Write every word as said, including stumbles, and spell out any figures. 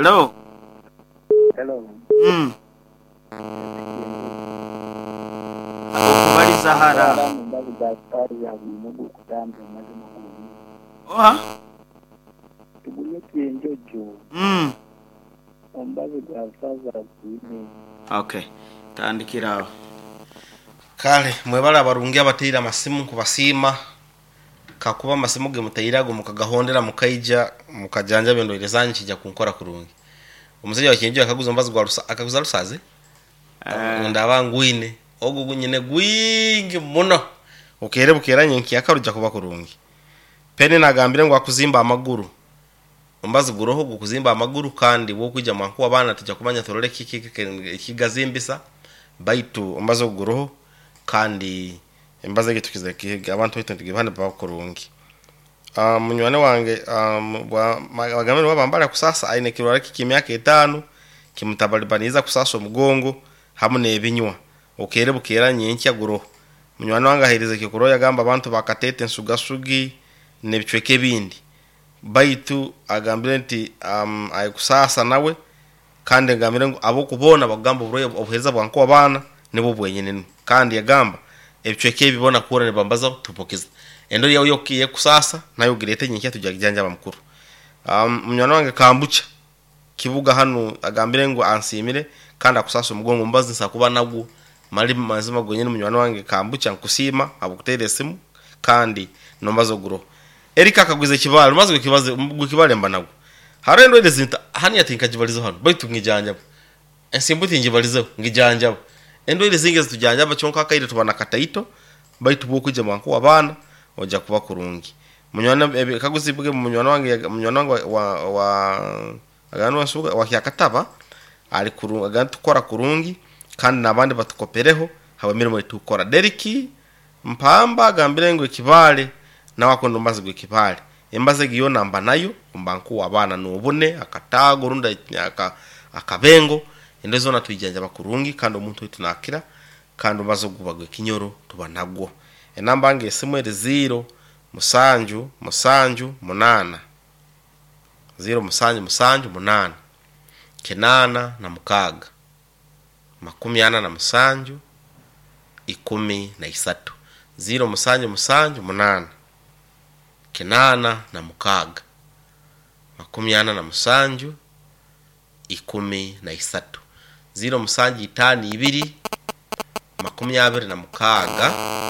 Hello. Hello. Mm. Okubaliza hara. Oha. Tugulye kyenjojo. Mm. Omubazi gwa rusaza gwine. Okay. Tandikira aho. Kale mwebale abarungi abateire amasimu nkubasiima, kakuba amasimu ge muteire ago mukagahondera mukaija mukajanjaba endwaire zanyu kijja kunkora kurungi. Omusaija wa Kyenjojo akaguza omubazi gwa rusa, akaguza rusazi? Eh. Ndaba ngwine ogu gunyine gwingi muno, okeere bukeera nyenkyaka rujja kuba kurungi. Peni nagambire ngu akuzimba amaguru, omubazi guroho gukuzimba amaguru, kandi bwokwija mwankuwa abaana tujja kumanya turole kiki ekigazimbisa, baitu omubazi ogu guroho kandi embazi egi tukize kihiga abantu baitu nitugibahane baba kurungi. Uh, munywani wange um, bagambire wabambara kusasa aine ekirwara ky'emyaka etaano kimutabalibaniza kusasa omugongo hamu n'ebinywa, okeere bukeera nyenkya guroho. Munywani wange aheerize ekyokurorraho yagamba abantu bakateta ensugasugi n'ebicweka ebindi, baitu agambire nti um, ayikusasa nawe, kandi agambire ngu ab'okuboona bakugamba oburwaire obuheereza bwa nkuwa abaana nibwo bwenyine nu, kandi yagamba ebicweka ebi boona kuhurra nibambazaho tubukiza endori yawe yekusasa nayo ogireete nyenkya tujja kujanjaba mukuru. Um, munywani wange Kambucha kibuga hanu agambire ngu ansiimire kandi akusasa omugongo, omubazi nsobola kuba nagwo mali mazima gwenyini. Munywani wange Kambucha nkusiima habw'okuteera esimu kandi n'omubazi oguroho. Erika akaguza ekibaale, omubazi gw'ekibazi gw'ekibaale mba nagwo. Haroho endwaire zinta haniya tinkagibalizeho hanu baitu ngijanjaba, ensimbu tingibalizeho ngijanjaba. Endwaire zingi ezitujanjaba kyonka akaire tuba nakataito, baitu bwokwija mwankuwa abaana ojja kuba kurungi. Munywani ebikaguzi bwe munywani wange munywani wange wa wa agamba wansuga wa Kyakataba ali kurungi, agamba tukora kurungi kandi n'abandi batukopereho habw'emirimo etukora. Deriki Mpamba agambire ngu ekibaale nawe akunda omubazi gw'ekibaale, embazi egi yoona mba nayo mba nkuwa abaana n'obune akataago rundi aka, akabengo, endwaire zoona twijanjaba kurungi kandi omuntu waitu naakira, kandi omubazi ogu guba gw'ekinyoro tuba nagwo. Enamba yange esimu eri ziro musanju musanju munaana ziro musanju musanju munaana kinaana na mukaaga makumi ana na musanju ikumi na isatu, ziro musanju musanju munaana kinaana na mukaaga makumi ana na musanju ikumi na isatu, ziro musanju itaano ibiri makumi abiri na mukaaga